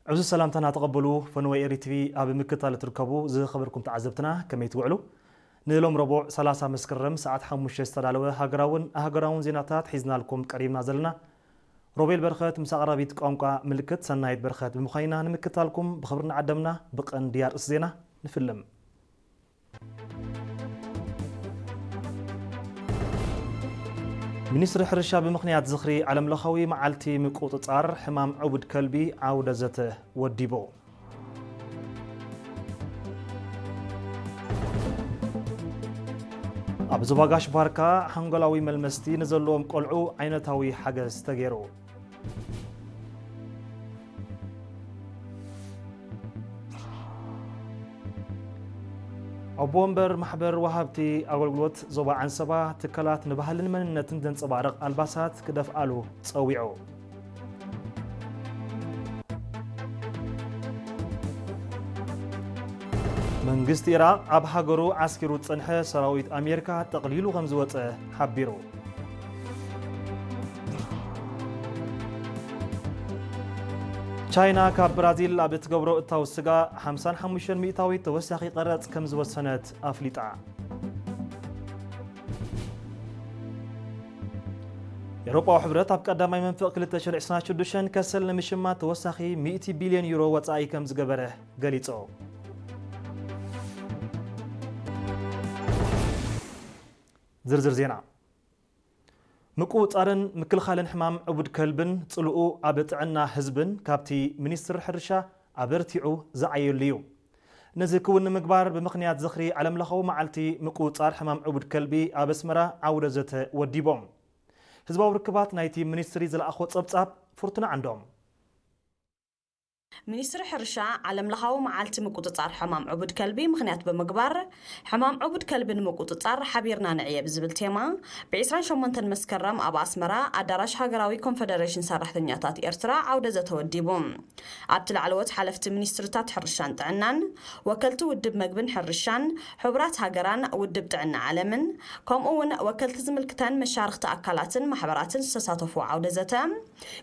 ዕዙዝ ሰላምታና ተቐበሉ። ፈነወ ኤሪ ቲቪ ኣብ ምክታል እትርከቡ ዝኸበርኩም ተዓዘብትና ከመይ ትውዕሉ? ንሎም ረቡዕ ሰላሳ መስከረም ሰዓት ሓሙሽተ ዝተዳለወ ሃገራውን ኣህገራውን ዜናታት ሒዝናልኩም ቀሪብና ዘለና። ሮቤል በርኸት ምስ ኣቕራቢት ቋንቋ ምልክት ሰናይት በርኸት ብምዃይና ንምክታልኩም ብኽብሪ ንዓደምና። ብቐንዲ ኣርእስቲ ዜና ንፍልም። ሚኒስትሪ ሕርሻ ብምኽንያት ዝኽሪ ዓለምለኻዊ መዓልቲ ምቁጽጻር ሕማም ዕቡድ ከልቢ ዓውደ ዘተ ወዲቡ። ኣብ ዞባ ጋሽ ባርካ ሓንጎላዊ መልመስቲ ንዘለዎም ቆልዑ ዓይነታዊ ሓገዝ ተገይሩ። ኣቦ ወንበር ማሕበር ወሃብቲ ኣገልግሎት ዞባ ዓንሰባ ትካላት ንባህልን መንነትን ዘንጸባርቕ ኣልባሳት ክደፍኣሉ ጸዊዑ። መንግስቲ ኢራቕ ኣብ ሃገሩ ዓስኪሩ ዝጸንሐ ሰራዊት ኣሜሪካ ጠቕሊሉ ከም ዝወጸ ሓቢሩ። ቻይና ካብ ብራዚል ኣብ እትገብሮ እታው ስጋ ሓምሳን ሓሙሽተን ሚእታዊት ተወሳኺ ቀረጽ ከም ዝወሰነት ኣፍሊጣ። ኤውሮጳዊ ሕብረት ኣብ ቀዳማይ መንፈቕ ክልተ ሽሕን ዕስራን ሽዱሽተን ከሰል ንምሽማት ተወሳኺ ሚእቲ ቢልዮን ዩሮ ወጻኢ ከም ዝገበረ ገሊጹ። ዝርዝር ዜና። ምቁጽጻርን ምክልኻልን ሕማም ዕቡድ ከልብን ጽልኡ ኣብ ጥዕና ህዝብን ካብቲ ሚኒስትሪ ሕርሻ ኣበርቲዑ ዝዓየሉ እዩ። ነዚ ክውን ንምግባር ብምኽንያት ዝኽሪ ዓለምለኻዊ መዓልቲ ምቁጽጻር ሕማም ዕቡድ ከልቢ ኣብ ኣስመራ ዓውደ ዘተ ወዲቦም። ህዝባዊ ርክባት ናይቲ ሚኒስትሪ ዝለኣኾ ጸብጻብ ፍርቱና ዓንዶም። ሚኒስትሪ ሕርሻ ዓለምለኻዊ መዓልቲ ምቁጽጻር ሕማም ዕቡድ ከልቢ ምኽንያት ብምግባር፣ ሕማም ዕቡድ ከልቢ ንምቁጽጻር ሓቢርና ንዕየ ብዝብል ቴማ፣ ብ ዕስራን ሸሞንተን መስከረም ኣብ ኣስመራ ኣዳራሽ ሃገራዊ ኮንፈደሬሽን ሰራሕተኛታት ኤርትራ ዓውደ ዘተ ወዲቡ። ኣብቲ ላዕለዎት ሓለፍቲ ሚኒስትሪታት ሕርሻን ጥዕናን፣ ወከልቲ ውድብ መግብን ሕርሻን፣ ሕቡራት ሃገራን ውድብ ጥዕና ዓለምን፣ ከምኡ እውን ወከልቲ ዝምልክተን መሻርኽቲ ኣካላትን ማሕበራትን ዝተሳተፉ ዓውደ ዘተ፣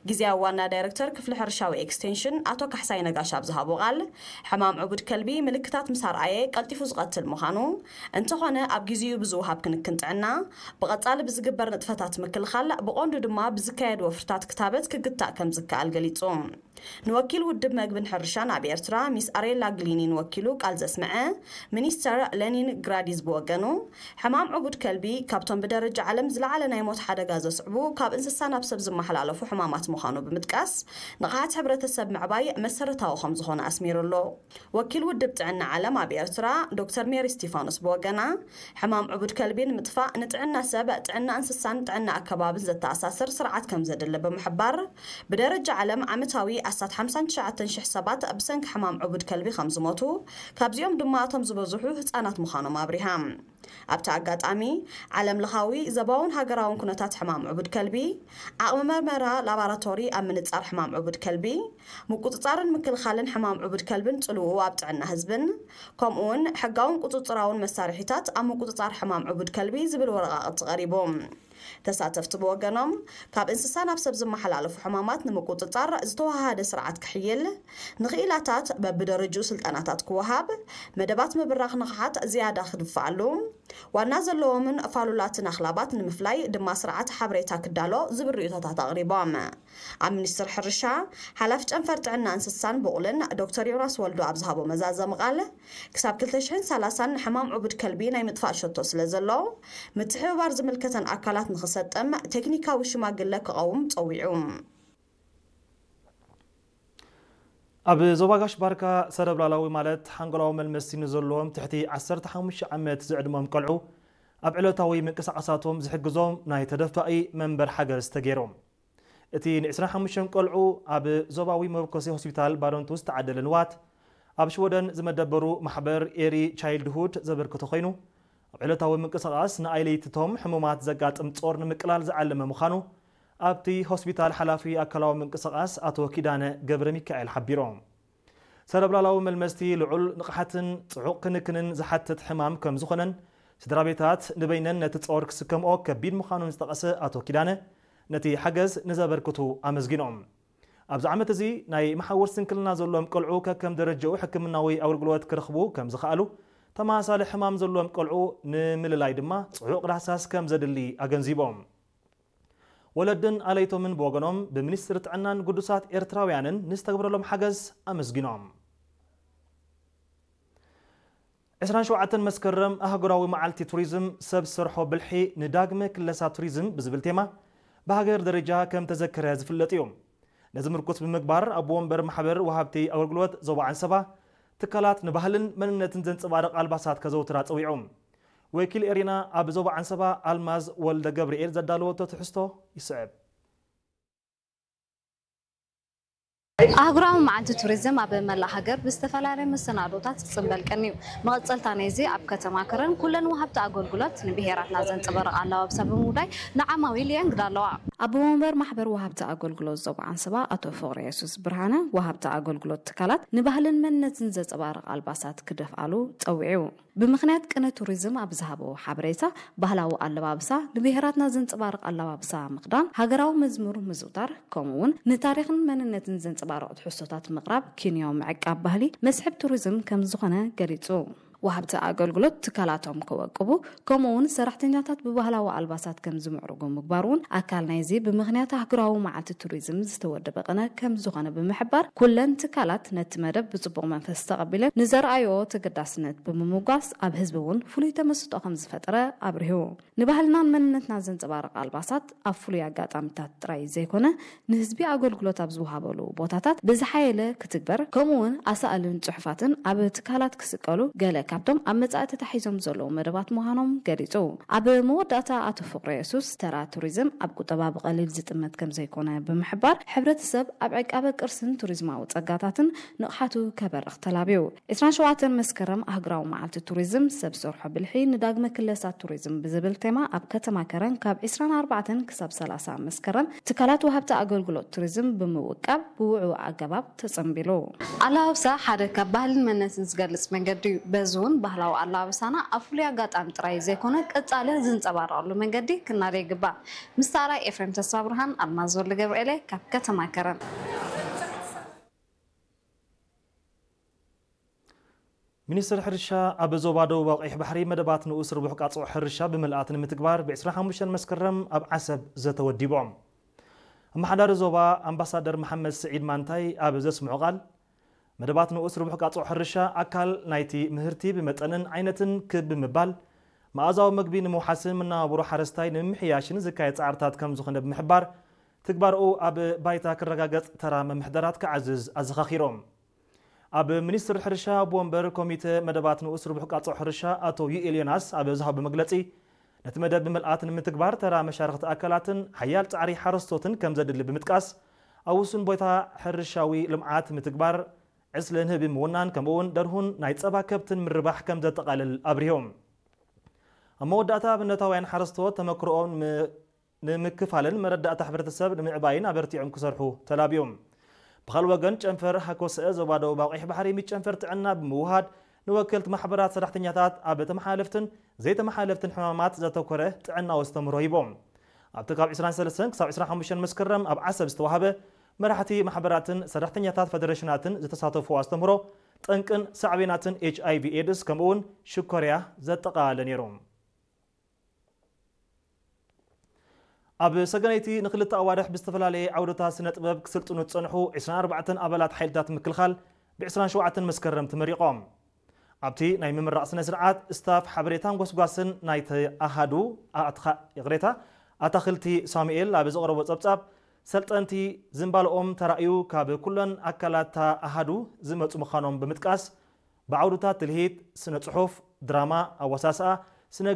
ግዝያዊ ዋና ዳይረክተር ክፍሊ ሕርሻዊ ኤክስቴንሽን ኣቶ ካሕሳይ ነጋሽ ኣብ ዝሃቦ ቃል፣ ሕማም ዕቡድ ከልቢ ምልክታት ምስ ኣርኣየ ቀልጢፉ ዝቐትል ምዃኑ፣ እንተኾነ ኣብ ግዜኡ ብዝወሃብ ክንክን ጥዕና፣ ብቐጻሊ ብዝግበር ንጥፈታት ምክልኻል፣ ብቐንዱ ድማ ብዝካየድ ወፍርታት ክታበት ክግታእ ከም ዝከኣል ገሊጹ። ንወኪል ውድብ መግብን ሕርሻን ኣብ ኤርትራ ሚስ ኣሬላ ግሊኒን ወኪሉ ቃል ዘስምዐ ሚኒስተር ሌኒን ግራዲዝ ብወገኑ፣ ሕማም ዕቡድ ከልቢ ካብቶም ብደረጃ ዓለም ዝለዓለ ናይ ሞት ሓደጋ ዘስዕቡ ካብ እንስሳ ናብ ሰብ ዝመሓላለፉ ሕማማት ምዃኑ ብምጥቃስ፣ ንቕሓት ሕብረተሰብ ምዕባይ መሰረታዊ ከም ዝኾነ ኣስሚሩ ኣሎ። ወኪል ውድብ ጥዕና ዓለም ኣብ ኤርትራ ዶክተር ሜሪ ስቲፋኖስ ብወገና፣ ሕማም ዕቡድ ከልቢ ንምጥፋእ ንጥዕና ሰብ፣ ጥዕና እንስሳን ጥዕና ኣከባብን ዘተኣሳስር ስርዓት ከም ዘድሊ ብምሕባር፣ ብደረጃ ዓለም ዓመታዊ ኣስታት ሓምሳን ትሽዓተን ሽሕ ሰባት ብሰንኪ ሕማም ዕቡድ ከልቢ ከም ዝሞቱ፣ ካብዚኦም ድማ እቶም ዝበዝሑ ህጻናት ምዃኖም ኣብሪሃ። ኣብቲ ኣጋጣሚ፣ ዓለም ለኻዊ፣ ዘባውን ሃገራውን ኩነታት ሕማም ዕቡድ ከልቢ፣ ዓቕሚ መርመራ ላባራቶሪ ኣብ ምንጻር ሕማም ዕቡድ ከልቢ፣ ምቁጽጻርን ምክልኻልን ሕማም ዕቡድ ከልብን ጽልውኡ ኣብ ጥዕና ህዝብን፣ ከምኡውን ሕጋውን ቁጽጽራውን መሳርሒታት ኣብ ምቁጽጻር ሕማም ዕቡድ ከልቢ ዝብል ወረቓቕቲ ቀሪቡ። ተሳተፍቲ ብወገኖም፣ ካብ እንስሳ ናብ ሰብ ዝመሓላለፉ ሕማማት ንምቁጽጻር ዝተወሃሃደ ስርዓት ክሕይል፣ ንኽኢላታት በብደረጅኡ ስልጠናታት ክወሃብ፣ መደባት ምብራኽ ንቕሓት ዝያዳ ክድፍኣሉ፣ ዋና ዘለዎምን ፋሉላትን ኣኽላባት ንምፍላይ ድማ ስርዓት ሓበሬታ ክዳሎ ዝብል ርእይቶታት ኣቕሪቦም። ኣብ ሚኒስትሪ ሕርሻ፣ ሓላፊ ጨንፈር ጥዕና እንስሳን ብቑልን ዶክተር ዮናስ ወልዱ ኣብ ዝሃቦ መዛዘሚ ቃል፣ ክሳብ ክልተ ሽሕን ሰላሳን ሕማም ዕቡድ ከልቢ ናይ ምጥፋእ ሸቶ ስለ ዘሎ፣ ምትሕብባር ዝምልከተን ኣካላት ንኽሰጥም ቴክኒካዊ ሽማግለ ክቐውም ጸዊዑ። ኣብ ዞባ ጋሽ ባርካ ሰረብላላዊ ማለት ሓንጎላዊ መልመስቲ ንዘለዎም ትሕቲ ዓሰርተ ሓሙሽተ ዓመት ዝዕድሞም ቆልዑ ኣብ ዕለታዊ ምንቅስቓሳቶም ዝሕግዞም ናይ ተደፋኢ መንበር ሓገዝ ተገይሮም። እቲ ን ዕስራን ሓሙሽተን ቆልዑ ኣብ ዞባዊ መበኮሲ ሆስፒታል ባረንቱ ዝተዓደለ ንዋት፣ ኣብ ሽወደን ዝመደበሩ ማሕበር ኤሪ ቻይልድሁድ ዘበርክቶ ኮይኑ፣ ኣብ ዕለታዊ ምንቅስቓስ ንኣይ ለይትቶም ሕሙማት ዘጋጥም ጾር ንምቅላል ዝዓለመ ምዃኑ ኣብቲ ሆስፒታል ሓላፊ ኣካላዊ ምንቅስቓስ ኣቶ ኪዳነ ገብረ ሚካኤል ሓቢሮም። ሰረብላላዊ መልመስቲ ልዑል ንቕሓትን ጽዑቕ ክንክንን ዝሓትት ሕማም ከም ዝኾነን፣ ስድራ ቤታት ንበይነን ነቲ ጾር ክስከምኦ ከቢድ ምዃኑን ዝጠቐሰ ኣቶ ኪዳነ፣ ነቲ ሓገዝ ንዘበርክቱ ኣመስጊኖም። ኣብዚ ዓመት እዚ ናይ መሓውር ስንክልና ዘለዎም ቆልዑ ከከም ደረጃኡ ሕክምናዊ ኣገልግሎት ክረኽቡ ከም ዝኸኣሉ፣ ተመሳሳሊ ሕማም ዘለዎም ቆልዑ ንምልላይ ድማ ጽዑቕ ዳህሳስ ከም ዘድሊ ኣገንዚቦም። ወለድን ኣለይቶምን ብወገኖም ብሚኒስትሪ ጥዕናን ግዱሳት ኤርትራውያንን ንዝተግብረሎም ሓገዝ ኣመስጊኖም። ዕስራን ሸውዓተን መስከረም ኣህጉራዊ መዓልቲ ቱሪዝም ሰብ ሰርሖ ብልሒ ንዳግመ ክለሳ ቱሪዝም ብዝብል ቴማ ብሃገር ደረጃ ከም ተዘከረ ዝፍለጥ እዩ። ነዚ ምርኩስ ብምግባር ኣቦ ወንበር ማሕበር ወሃብቲ ኣገልግሎት ዞባ ዓንሰባ ትካላት ንባህልን መንነትን ዘንጸባርቕ ኣልባሳት ከዘውትራ ጸዊዑ። ወኪል ኤሪና ኣብ ዞባ ዓንሰባ ኣልማዝ ወልደ ገብርኤል ዘዳለወቶ ትሕዝቶ ይስዕብ። ኣህጉራዊ መዓልቲ ቱሪዝም ኣብ መላእ ሃገር ብዝተፈላለየ መሰናዶታት ክጽንበል ቀንዩ። መቐጸልታ ናይዚ ኣብ ከተማ ከረን ኩለን ወሃብቲ ኣገልግሎት ንብሄራትና ዘንጸባርቕ ኣለባብሳ ብምውዳይ ንዓማዊል የንግዳ ኣለዋ። ኣቦ ወንበር ማሕበር ወሃብቲ ኣገልግሎት ዞባ ዓንሰባ ኣቶ ፍቕረ የሱስ ብርሃነ ወሃብቲ ኣገልግሎት ትካላት ንባህልን መንነትን ዘንጸባርቕ ኣልባሳት ክደፍኣሉ ጸዊዑ። ብምኽንያት ቅነ ቱሪዝም ኣብ ዝሃቦ ሓበሬታ፣ ባህላዊ ኣለባብሳ፣ ንብሄራትና ዘንጸባርቕ ኣለባብሳ ምኽዳን፣ ሃገራዊ መዝሙር ምዝውታር፣ ከምኡ እውን ንታሪኽን መንነትን ዘንጸባርቑ ትሕዝቶታት ምቕራብ ኪንዮ ምዕቃብ ባህሊ መስሕብ ቱሪዝም ከም ዝኾነ ገሊጹ። ወሃብቲ ኣገልግሎት ትካላቶም ከወቅቡ፣ ከምኡ እውን ሰራሕተኛታት ብባህላዊ ኣልባሳት ከም ዝምዕርጉ ምግባር እውን ኣካል ናይዚ ብምኽንያት ኣህጉራዊ መዓልቲ ቱሪዝም ዝተወደበ ቅነ ከም ዝኾነ ብምሕባር፣ ኩለን ትካላት ነቲ መደብ ብጽቡቕ መንፈስ ተቐቢለን ንዘርኣዮ ተገዳስነት ብምምጓስ ኣብ ህዝቢ እውን ፍሉይ ተመስጦ ከም ዝፈጠረ ኣብሪሁ። ንባህልናን መንነትና ዘንጸባርቕ ኣልባሳት ኣብ ፍሉይ ኣጋጣሚታት ጥራይ ዘይኮነ ንህዝቢ ኣገልግሎት ኣብ ዝወሃበሉ ቦታታት ብዝሓየለ ክትግበር፣ ከምኡ እውን ኣሳእልን ጽሑፋትን ኣብ ትካላት ክስቀሉ ገለ ካብቶም ኣብ መጻኢ ተታሒዞም ዘለዉ መደባት ምዃኖም ገሊጹ። ኣብ መወዳእታ ኣቶ ፍቕረ የሱስ ተራ ቱሪዝም ኣብ ቁጠባ ብቐሊል ዝጥመት ከም ዘይኮነ ብምሕባር፣ ሕብረተሰብ ኣብ ዕቃበ ቅርስን ቱሪዝማዊ ጸጋታትን ንቕሓቱ ከበርኽ ተላብዩ። ዕስራን ሸውዓተን መስከረም ኣህጉራዊ መዓልቲ ቱሪዝም ሰብ ሰርሖ ብልሒ ንዳግመ ክለሳ ቱሪዝም ብዝብል ቴማ ኣብ ከተማ ከረን ካብ ዕስራን ኣርባዕተን ክሳብ ሰላሳ መስከረም ትካላት ወሃብቲ ኣገልግሎት ቱሪዝም ብምውቃብ ብውዕው ኣገባብ ተጸንቢሉ። ኣለባብሳ ሓደ ካብ ባህልን መንነትን ዝገልጽ መንገዲ እዩ። በዚ እውን ባህላዊ ኣለባብሳና ኣብ ፍሉይ ኣጋጣሚ ጥራይ ዘይኮነ ቀጻሊ ዝንጸባረቐሉ መንገዲ ክናደ ይግባእ። ምስ ተራይ ኤፍሬም ተስፋ ብርሃን፣ ኣልማዝ ወልደ ገብርኤለ ካብ ከተማ ከረን። ሚኒስትር ሕርሻ ኣብ ዞባ ደቡባዊ ቀይሕ ባሕሪ መደባት ንኡስ ርቡሕ ቃጽዖ ሕርሻ ብምልኣት ንምትግባር ብ ዕስራን ሓሙሽተን መስከረም ኣብ ዓሰብ ዘተወዲቦም። ኣመሓዳሪ ዞባ ኣምባሳደር መሓመድ ስዒድ ማንታይ ኣብ ዘስምዖ ቃል፣ መደባት ንኡስ ርቡሕ ቃጽዖ ሕርሻ ኣካል ናይቲ ምህርቲ ብመጠንን ዓይነትን ክብ ብምባል መኣዛዊ መግቢ ንምውሓስን መነባብሮ ሓረስታይ ንምምሕያሽን ዝካየድ ጻዕርታት ከም ዝኾነ ብምሕባር፣ ትግባርኡ ኣብ ባይታ ክረጋገጽ ተራ መምሕደራት ክዓዝዝ ኣዘኻኺሮም። ኣብ ሚኒስትሪ ሕርሻ ኣቦ ወንበር ኮሚተ መደባት ንኡስ ርቡሕ ቃጽዖ ሕርሻ ኣቶ ዩኤል ዮናስ ኣብ ዝሃቦ መግለጺ፣ ነቲ መደብ ብምልኣት ንምትግባር ተራ መሻርኽቲ ኣካላትን ሓያል ጻዕሪ ሓረስቶትን ከም ዘድሊ ብምጥቃስ፣ ኣብ ውሱን ቦታ ሕርሻዊ ልምዓት ምትግባር፣ ዕስለ ንህቢ ምውናን ከምኡውን ደርሁን ናይ ጸባ ከብትን ምርባሕ ከም ዘጠቓልል ኣብሪሆም። ኣብ መወዳእታ ኣብነታውያን ሓረስቶት ተመክሮኦም ንምክፋልን መረዳእታ ሕብረተሰብ ንምዕባይን ኣበርቲዖም ክሰርሑ ተላብዮም። ብኻልእ ወገን ጨንፈር ሃኮሰ ዞባ ደቡባዊ ቀይሕ ባሕሪ ምስ ጨንፈር ጥዕና ብምውሃድ ንወከልቲ ማሕበራት ሰራሕተኛታት ኣብ ተመሓላለፍትን ዘይተመሓላለፍትን ሕማማት ዘተኮረ ጥዕናዊ ኣስተምህሮ ሂቦም። ኣብቲ ካብ ዕስራን ሰለስተን ክሳብ ዕስራን ሓሙሽተን መስከረም ኣብ ዓሰብ ዝተዋህበ መራሕቲ ማሕበራትን ሰራሕተኛታት ፈደረሽናትን ዝተሳተፉ ኣስተምህሮ ጠንቅን ሳዕቤናትን ኤች ኣይ ቪ ኤድስ ከምኡውን ሽኮርያ ዘጠቓለለ ነይሩ። ኣብ ሰገነይቲ ንክልተ ኣዋርሕ ብዝተፈላለየ ዓውድታት ስነ ጥበብ ክስልጥኑ ዝጸንሑ ዕስራን ኣርባዕተን ኣባላት ሓይልታት ምክልኻል ብ ዕስራን ሸውዓተን መስከረም ተመሪቖም። ኣብቲ ናይ ምምራቕ ስነ ስርዓት ስታፍ ሓበሬታን ጎስጓስን ናይቲ ኣሃዱ ኣትኻ ይቕሬታ ኣታኽልቲ ሳሙኤል ኣብ ዘቕረቦ ጸብጻብ፣ ሰልጠንቲ ዝንባለኦም ተራእዩ ካብ ኩለን ኣካላት ኣሃዱ ዝመጹ ምዃኖም ብምጥቃስ፣ ብዓውድታት ትልሂት፣ ስነ ጽሑፍ፣ ድራማ፣ ኣወሳስኣ፣ ስነ